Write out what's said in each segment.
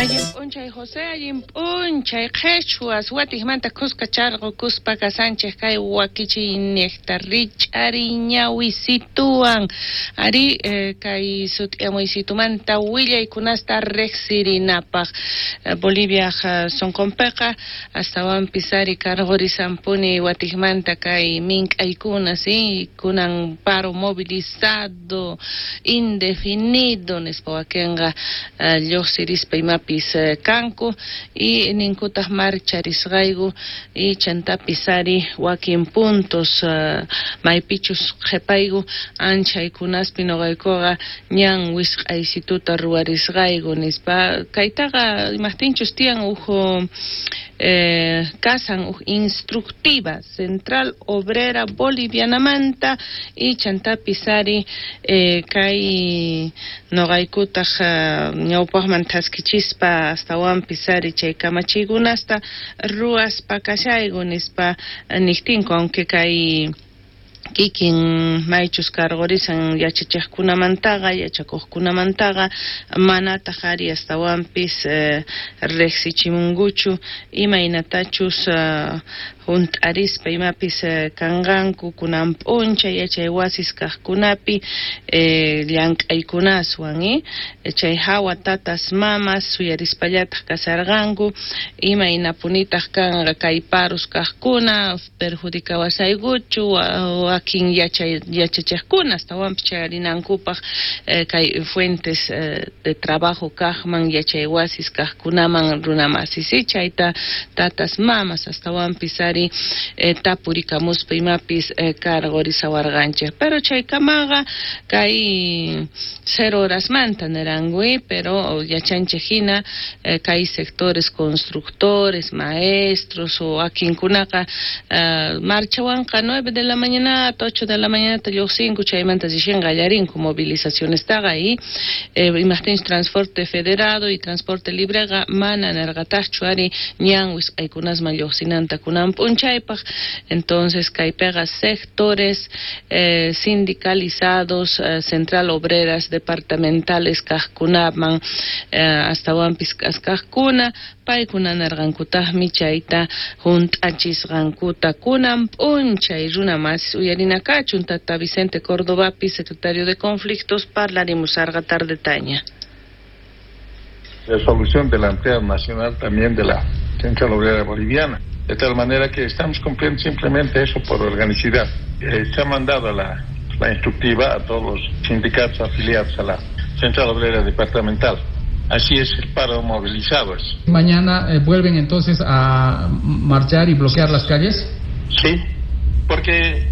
Allin p'unchay José, allin p'unchay qhichwas, watijmanta khuska charqukuspa kasanchej kay wakichiynejta rich'ariy ñawisituwan. Ari kay sut'iyamuysitumanta willaykunasta riqsirinapaq. Boliviaj sonqonpiqa astawanpis ari karqurisanpuni watijmanta kay mink'aykuna, sí, kunan paro movilizado indefinido nispa wakinqa lluqsirispa imapis kanku y ninkutaq marcharisqayku y chantapis ari wakin puntos maypichus qhipayku anchaykunaspi nuqaykuqa ñan wisq'aysituta ruwarisqayku nispa kaytaqa imaqtinchus tiyan uj kasan uj instructiva Central Obrera Bolivianamanta y chantapis ari kay nuqaykutaq ñawpaqman thaskichispa astawanpis ari chay kamachiykunasta ruwaspa kashayku nispa niqtinku, aunque kay kikin maychus karqurisan yachachiqkunamantaqa yachakuqkunamantaqa manataq ari astawanpis riqsichimunkuchu imaynatachus hunt'arispa imapis kanqanku kunan p'unchay yachay wasis kaqkunapi llank'aykunaswan chay hawa tatas mamas suyarispallataq kasarqanku imaynapunitaq kanqa kay paros kaqkuna perjudicawasaykuchu wakin yachachiqkuna astawanpis chayarinankupaq kay fuentes de trabajo kaqman yachay wasis kaqkunaman runamasis chayta tatas mamas astawanpis ari tapurikamuspa imapis karqurisawarqanchik pero chaykamaqa kay 0 horasmanta niranku pero yachanchik hina kay sectores constructores, maestros o wakinkunaqa marchawanqa 9 de la mañana 8 de la mañana lluqsinku chaymanta rishin qallarinku movilizacionestaqa y imaqtinchus transporte federado y transporte libreqa mana nirqataqchu ari ñan wisq'aykunasman lluqsinanta kunan p'unchaypaq. Entonces kaypiqa sectores sindicalizados central obreras departamentales kaqkunaman astawanpis k'askaqkuna paykuna nirqankutaqmi chayta hunt'achisqankuta kunan p'unchay runa masis uyarinakachun tata Vicente Cordobapi secretario de Conflictos parlarimusarqa tardetaña. Resolución de la Empleado Nacional también de la Central Obrera Boliviana, de tal manera que estamos cumpliendo simplemente eso por organicidad. Se ha mandado la instructiva a todos los sindicatos afiliados a la Central Obrera Departamental. Así es el paro movilizado. ¿Mañana vuelven entonces a marchar y bloquear las calles? Sí, porque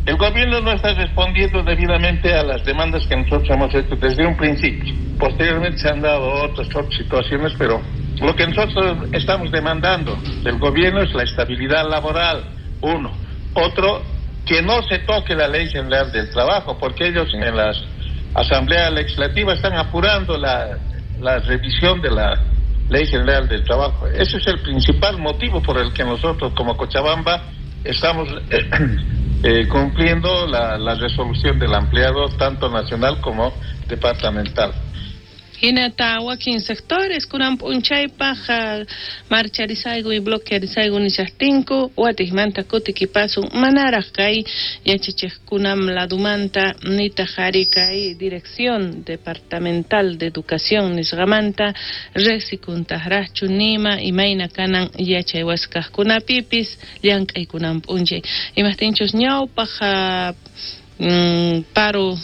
el gobierno no está respondiendo debidamente a las demandas que nosotros hemos hecho desde un principio. Posteriormente se han dado otras situaciones, pero lo que nosotros estamos demandando del gobierno es la estabilidad laboral, uno. Otro, que no se toque la Ley General del Trabajo, porque ellos en las asambleas legislativas están apurando la revisión de la Ley General del Trabajo. Ese es el principal motivo por el que nosotros como Cochabamba estamos cumpliendo la resolución del empleado tanto nacional como departamental. Hinata wakin sectores kunan p'unchaypaq marcharisayku y bloquearisayku nishaqtinku watiqmanta kutikipasun manaraq kay yachachiqkunam ladumanta nitaq ari kay Dirección Departamental de Educación nisqamanta riqsikuntaqraqchu nima imayna kanan yachay wasi kaqkunapipis llank'aykunan p'unchay imaqtinchus ñawpaq paro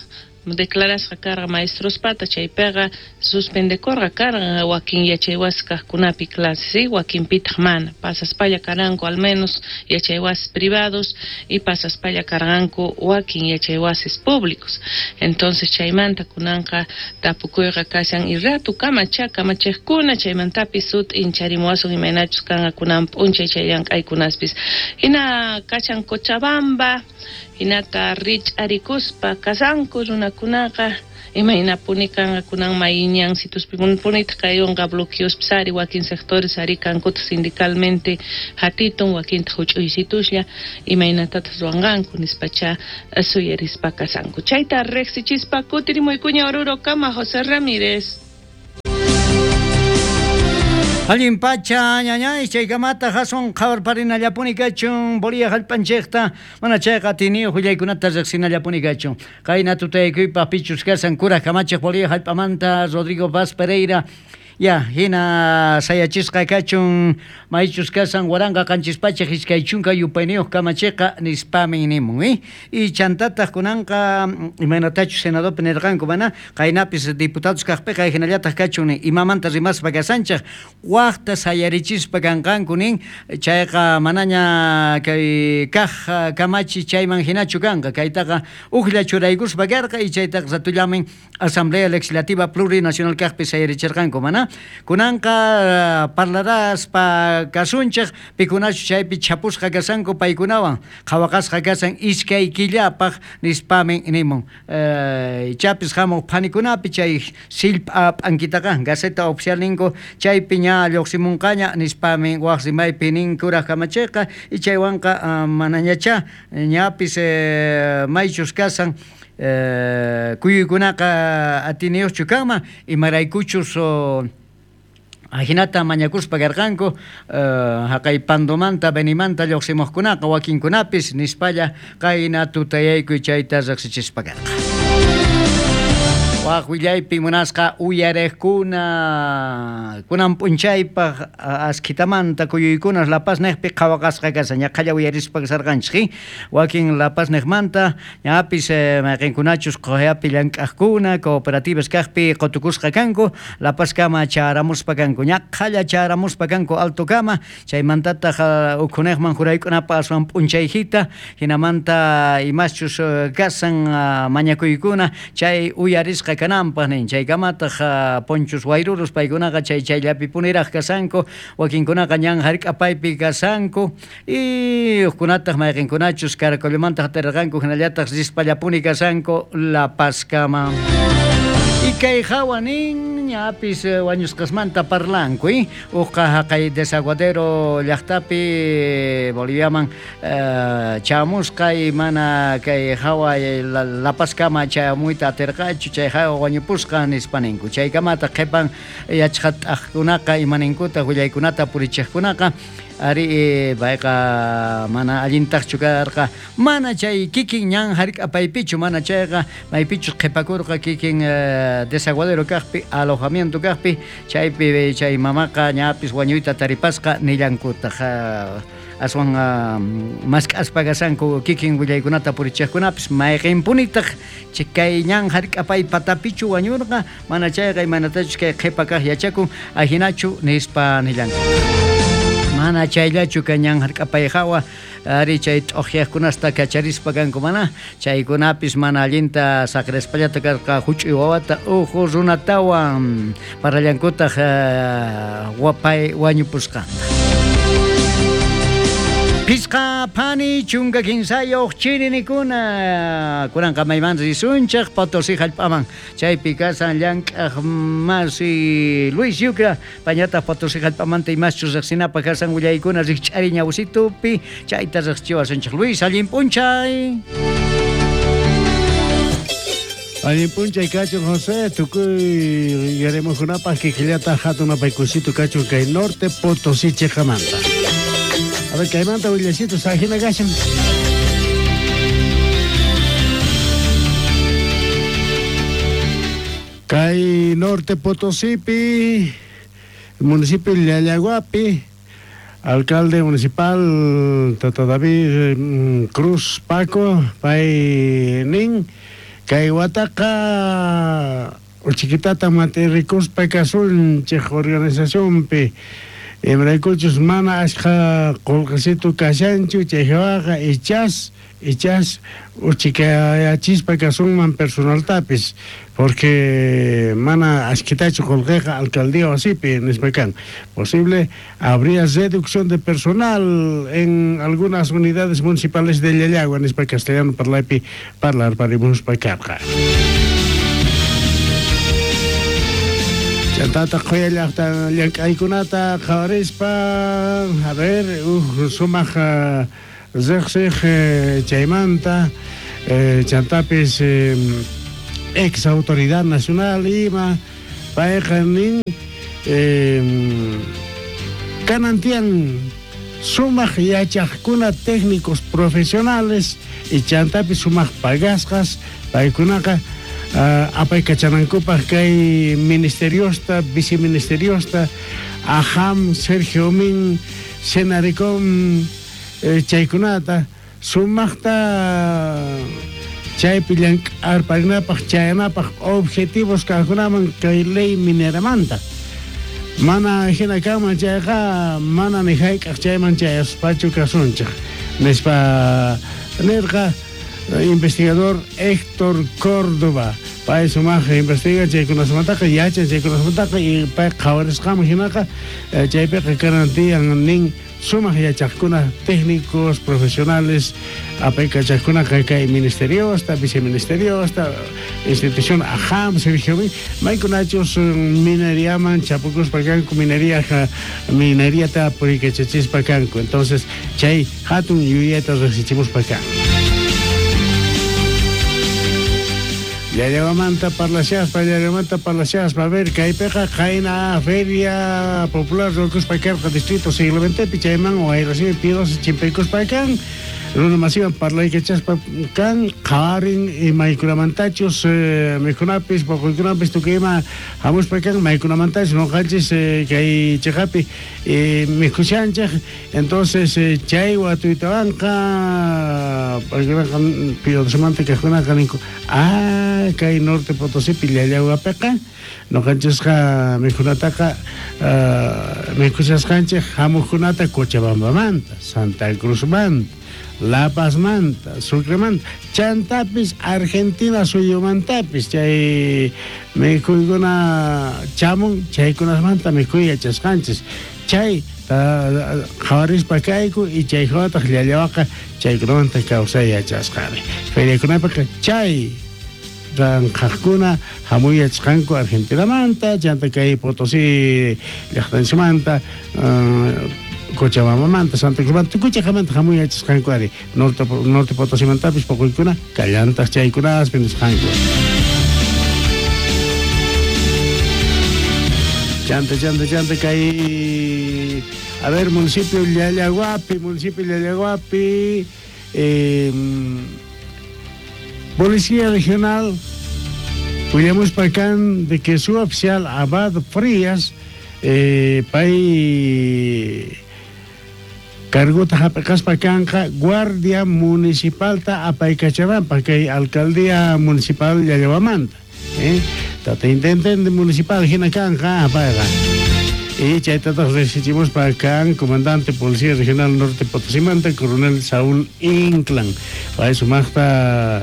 declarasqa karqa maestrospata chaypiqa suspendekurqa karqa wakin yachay wasi kaqkunapi clases ¿sí? Wakinpitaq mana pasaspalla karanku al menos yachay wasis privados y pasaspalla karqanku wakin yachay wasis públicos. Entonces chaymanta kunanqa tapukuyqa kashan y ratu kamacha kamachiqkuna chaymantapis sut'incharimuwasun imaynachus kanqa kunan p'unchay chay llank'aykunaspis hina kashan Cochabamba hinata rich'arikuspa kasanku runakunaqa imaynapuni kanqa kunan mayñan situspi punitaq kayunqa bloqueospis ari wakin sectores ari kankutaq sindicalmente hatitun wakintaq huch'uysituslla imaynatataq ruwanqanku nispacha suyarispa kasanku chayta riqsichispa kutirimuykuña Oruro kama José Ramírez. Allin pacha ñañay chaykamata hasun qhawarparinallapuni kachun Bolivia hallp'anchikta mana chayqa atiyniyuq willaykunata riqsinallapuni kachun. Qayna tutayaykuypaq pichus kasan kuraj kamachiq Bolivia hallp'amanta Rodrigo Paz Pereira ya hina sayachisqa kachun maychus kasan 1720 yupayniyuq kamachiqa nispamin nimun y chantataq kunanqa imaynatachus senadopi nirqanku mana qaynapis diputados kaqpiqa hinallataq kachun nin imamanta rimaspa kasanchik waqta sayarichispa kanqanku nin chayqa manaña kay kaq kamachi chayman hinachu kanqa kaytaqa ujlla churaykuspa karqa y chaytaqa ratullamin Asamblea Legislativa Plurinacional kaqpi sayarichirqanku mana kunanqa parlaraspa kasunchik pikunachu chaypi chhapusqa kasanku paykunawan qhawaqasqa kasan iskay killapaq nispamin nimun chapis hamuq phanikunapi chay sillp'a p'ankitaqa Gaceta Oficial ninku chaypi ña lluqsimunqaña nispamin waq rimaypi nin kuraj kamachiqa y chaywanqa manañacha ñapis maychus kasan kuyuykunaqa atiniyuqchu kanman imaraykuchus ajinata mañakuspa karqanku haqay Pandomanta Benimanta lluqsimuqkunaqa wakinkunapis nispalla qayna tutayaykuy chayta riqsichispa karqa. Waq willaypi munasqa uyariqkuna kunan p'unchaypaq askhitamanta kuyuykunas La Paz niqpi qhawaqasqa kashan ñaqhalla uyarispa kasarqanchik wakin La Paz niqmanta ñapis mayqinkunachus quyapi llank'aqkuna cooperativas kaqpi qutukusqa kanku La Paz kama charamuspa kanku ñaqhalla charamuspa kanku alto kama chaymantataq ukhuniqman juraykunapaq aswan p'unchayjita hinamanta imaschus kasan mañakuykuna chay uyarisqa kananpaq nin chaykamataq ponchus wayrurus paykunaqa chay chayllapi puniraq kasanku wakinkunaqa ñan hark'apaypi kasanku y hukkunataq mayqinkunachus Caracollomanta hatarqanku hinallataq rispallapuni kasanku La Pazkama. Y kay hawa nin ñapis wañusqasmanta parlanku uqa haqay desaguadero llaqtapi Boliviaman chamusqa y mana kay hawa La Pazkama chamuyta atirqachu chay hawa wañupusqa nispa ninku chaykamata qhipan yachqat'aqkunaqa imaninkuta willaykunata purichiqkunaqa ari payqa mana allintaqchu karqa mana chay kikin ñan hark'apaypichu mana chayqa maypichus qhipakurqa kikin desaguadero kaqpi alojamiento kaqpi chaypi chay mamaqa ñapis wañuyta taripasqa nillankutaq aswan mask'aspa kasanku kikin willaykunata purichiqkunapis mayqinpunitaq kay ñan hark'apay patapichu wañurqa mana chayqa imanatachus kay qhipa kaq yachakun ajinachu nispa nillanku. Mana chayllachu kay ñan hark'apay hawa ari chay t'uqyaqkunasta kacharispa kanku mana chaykunapis mana allinta saqrispallata karqa huch'uy wawata uhu runatawan parallankutaq wapay wañupusqanta. Pisqa phani chunka kinsayuq chirinikuna kunanqa mayman risunchik Potosí hallp'aman chaypi kasan llank'aq masi Luis Yucra pañataq Potosí hallp'amanta imaschus riqsinapaq kasan willaykuna rikch'ari ñawsitupi chayta riqsichiwasunchik. Luis, allin p'unchay. Allin p'unchay kachun José, tukuy yaremuqkunapaq kikillata hatun apaykusito kachun kay norte Potosí chiqamanta. A ver, kaymanta willasitos ajina kashan. Kay norte Potosípi, municipio Llallaguapi, alcalde municipal Tata David Cruz Paco, pay nin, kay wataqa uchiquitata matirrikuspa kasunchik organizacionpi. Imaraykuchus mana ashqa qullqisitu kashanchu chaywaqa ichas uchikayachispa kasunman personaltapis porque mana ashkitachu qullqiqa alcaldía wasipi nispa kan posible habría reducción de personal en algunas unidades municipales de Llallagua nispa castellano parlaypi parlar parimuspa karqa. Chantata qhuya llaqta llank'aykunata qhawarispa a ver sumaq riqsiq chaymanta chantapis ex autoridad nacional ima payqa nin Kanan tiyan sumaq yachaqkuna técnicos profesionales y chantapi sumaq pagasqas paykunaqa apaykachanankupaq kay ministeriosta, viceministeriosta, AJAM, Sergio Min, Senarecom chaykunata sumaqta chaypi llank'arparinapaq chayanapaq objetivos kaqkunaman kay ley mineramanta. Mana hina kanman chayqa mana ni hayk'aq chayman chayaspachu kasunchik nispa nirqa investigador Héctor Córdoba. Pay sumaq investiga chaykunasmantaqa yachan chaykunasmantaqa y pay qhawarisqaman hinaqa chaypiqa kanan tiyan nin sumaq yachaqkuna técnicos profesionales apaykachaqkunaqa kay ministeriosta, viceministeriosta, institución AJAM, Sergio maykunachus mineriaman chapukuspa kanku, mineriata puriykachachispa kanku. Entonces chay hatun yuyayta riqsichimuspa kan. Llallahuamanta parlashaspa, a ver, kaypiqa qayna feria popular ruwakuspa karqa distrito siglo XX chayman wayrasimi pidosi chimpaykuspa kan, runa masiwan parlaykachaspa kan, qhawarin maykunamantachus mikhunapis, poqoykunapis tukuy ima hamuspa kan, maykunamantachus noqanchis kay cheqapi mikhushanchik. Entonces chay watuytawanqa paykunaqa pidosimanta kaqkunaqa ninku, kay Norte Potosipi Llallahuapiqa noqanchisqa mikhunataqa mikhushasqanchik hamuqkunata Cochabambamanta, Santa Cruzmanta, La Pazmanta, Sucremanta, chantapis Argentina suyumantapis chay mikhuykuna chamun, chaykunasmanta mikhuy yachasqanchis. Chay qhawarispa kayku y chay hawataq Llallahuaqa chaykunamanta kawsay yachasqani. Feriakunapiqa chay ranqhaqkuna hamuy yachasqanku Argentinamanta, chanta kay Potosí llaqtanchikmanta, Cochabambamanta, Santa Cruzmanta, tukuy chaqamanta hamuy yachasqanku ari. Norte Potosimantapis poquykuna kallantaq chaykunaspi nisqanku. Chanta, chanta, chanta kay, a ver, municipio Llallahuapi, Policía Regional, willamuspa kan de que su oficial Abad Frías, pay cargota hap'ikaspa kanqa Guardia Municipalta apaykachananpaq kay Alcaldía Municipal Llallahuamanta. Tata intendente municipal hina kanqa payqa. Y chaytataq riqsichimuspa kan comandante Policía Regional Norte Potosimanta, Coronel Saúl Inclán. Pay sumaqta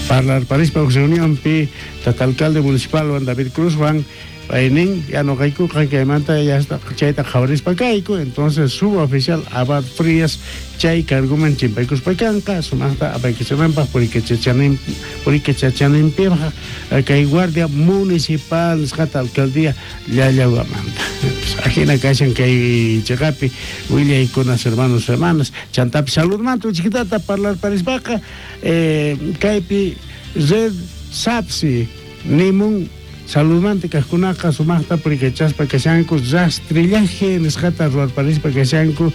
parlarparispa huk reunionpi tata alcalde municipal Juan David Cruz Juan paynin ya noqaykuqa kaymanta ya chayta qhawarispa kayku. Entonces suboficial Abad Frías chay carguman chimpaykuspa kanqa sumaqta apaykachananpaq purikachachananpaq kay Guardia Municipal nisqata alcaldía Llallahuamanta. Ajina kashan kay cheqapi willaykunas hermanos hermanas. Chantapi saludmanta uchikitata parlarparispaqa kaypi red SAPSI nimun saludmanta kaqkunaqa sumaqta purikachaspa kashanku rastrillaje nisqata ruwarparispa kashanku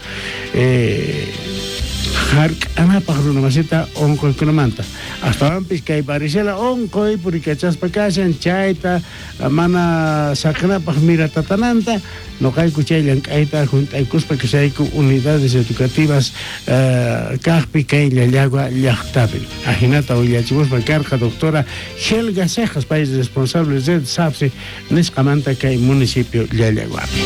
hark'anapaq runamasita onqoykunamanta. Astawanpis kay varicela onqoy purikachaspa kashan chayta mana saqinapaq miratatananta noqayku chay llank'ayta junt'aykuspa kashayku unidades educativas kaqpi kay Llallagua llaqtapi. Ajinata willachimuspa karqa doctora Helga Cejas, pay responsable red SAPSI nisqamanta kay municipio Llallaguapi.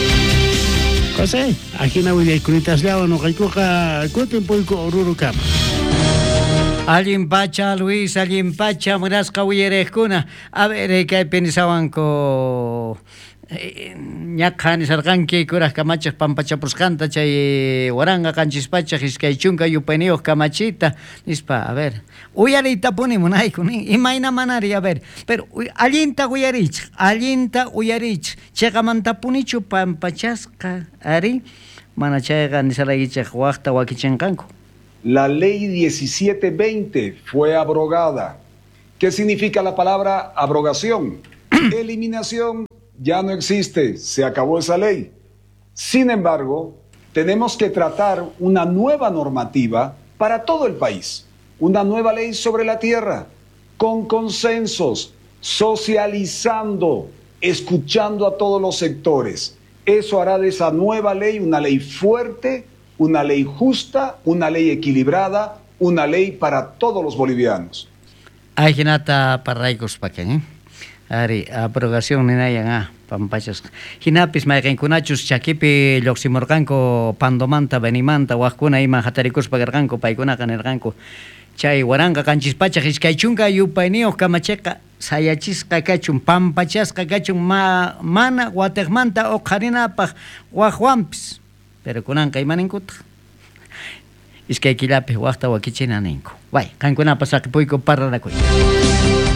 José, ajina willaykunitaslawan noqaykuqa kutin puyku Orurukama. Allin pacha, Luis, allin pacha, munasqa uyariqkuna. A ver, kaypi nisawanku ñaqha nisarqanki kuraj kamachiq pampachapusqanta chay 1720 yupayniyuq kamachita nispa. A ver, uyariytapuni munayku nin imayna manari, a ver, pero allinta uyarichik, allinta uyarichik, chiqamantapunichu pampachasqa ari, mana chayqa nisaraykichik waqta wakichinqanku. La ley 1720 fue abrogada. ¿Qué significa la palabra abrogación? Eliminación. Ya no existe, se acabó esa ley. Sin embargo, tenemos que tratar una nueva normativa para todo el país, una nueva ley sobre la tierra, con consensos, socializando, escuchando a todos los sectores. Eso hará de esa nueva ley una ley fuerte, una ley justa, una ley equilibrada, una ley para todos los bolivianos. Ajinata parlaykuspakan, ¿eh? Ari, abrogación ninayan ah, pampachasqa. Hinapis mayqinkunachus chakipi lluqsimurqanku Pandomanta, Benimanta, waqkuna ima hatarikuspa karqanku, paykunaqa nirqanku. Chay 1720 yupayniyuq kamachiqa sayachisqa kachun, pampachasqa kachun, mana watiqmanta uqharinapaq waqwanpis. Pero kunanqa imaninkutaq? Iskay killapi waqta wakichina ninku. Way, qankunapas saqipuyku parlanakuy.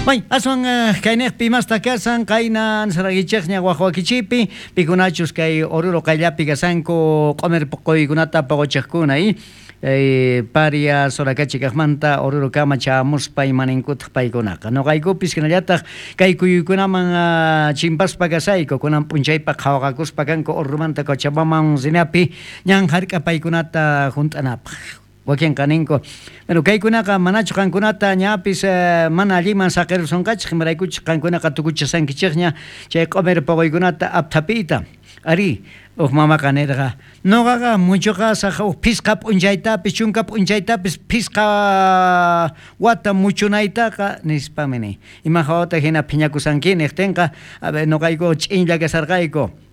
Way, aswan kayniqpi imasta kasan, qayna ansaragichiqña waq wakichipi, pikunachus kay Oruro qayllapi kasanku q'umir puquykunata puquchiqkuna, paria Soracachi kaqmanta Oruro kama chamuspa imaninkutaq paykunaqa. Nuqaykupis hinallataq kay kuyuykunaman chimpaspa kasayku, kunan p'unchaypaq qhawaqakuspa kanku Oruromanta Cochabambaman rinapi ñan hark'a paykunata hunt'anapaq. Wakinqa ninku, bueno, kaykunaqa manachu qankunata ñapis mana alliman saqirusonqachik, imaraykuchik qankunaqa tukuchasankichikña chay q'umir puquykunata apthapiyta. Ari, uj mamaqa nirqa, nuqaqa muchuqasaq uj phisqa p'unchaytapis, chunka p'unchaytapis, phisqa wata muchunaytaqa, nispami ni. Ima hawata hina phiñakusanki niqtinqa, a ver, nuqayku ch'inlla kasarqayku.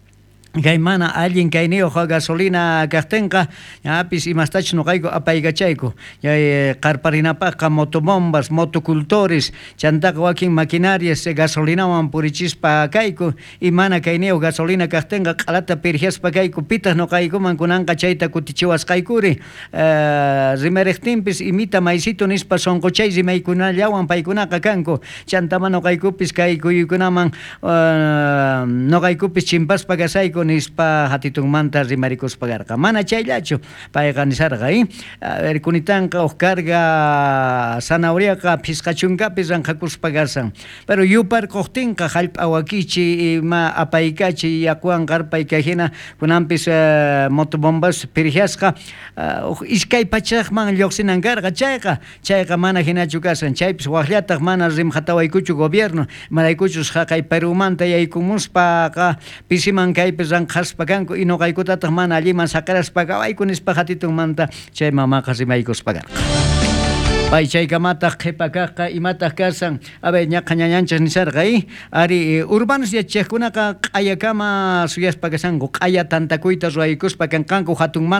Kay mana allin kayniyuq gasolina kaqtinqa, ñapis imastachus nuqayku apaykachayku. Chay qarparinapaqqa motobombas, motocultores, chantaqa wakin maquinarias gasolinawan purichispa kayku, y mana kayniyuq gasolina kaqtinqa q'alata pirjiaspa kayku, pitaq nuqaykuman kunanqa chayta kutichiwasqaykuri. Rimariqtinpis imita maysito nispa sunquchay rimaykunallawan paykunaqa kanku. Chantama nuqaykupis kay kuyuykunaman nuqaykupis chimpaspa kasayku nispa hatitunmanta rimarikuspa karqa. Mana chayllachu payqa nisarqa, A ver, kunitanqa uj carga zanahoriaqa phisqa chunkapi ranqhakuspa kasan. Pero yuparquqtinqa hallp'a wakichi ima apaykachi yakuwan qarpay kay hina kunanpis motobombas pirjiasqa uj iskay pachaqman lluqsinan karqa chayqa, chayqa mana hinachu kasan. Chaypis waqllataq mana rimqatawaykuchu gobierno, imaraykuchus haqay Perumanta yaykumuspaqa pisiman kaypi ranqhaspa kanku y nuqaykutataq mana alliman saqiraspa kawayku nispa hatitunmanta chay mamaqa rimaykuspa karqa. Pay chaykamataq qhipa kaqqa imataq kasan, a ver, ñaqa ñañanchis nisarqa, Ari, urbanos yachaqkunaqa q'ayakama suyaspa kasanku, q'aya tantakuyta ruwaykuspa kanqanku hatunmanta.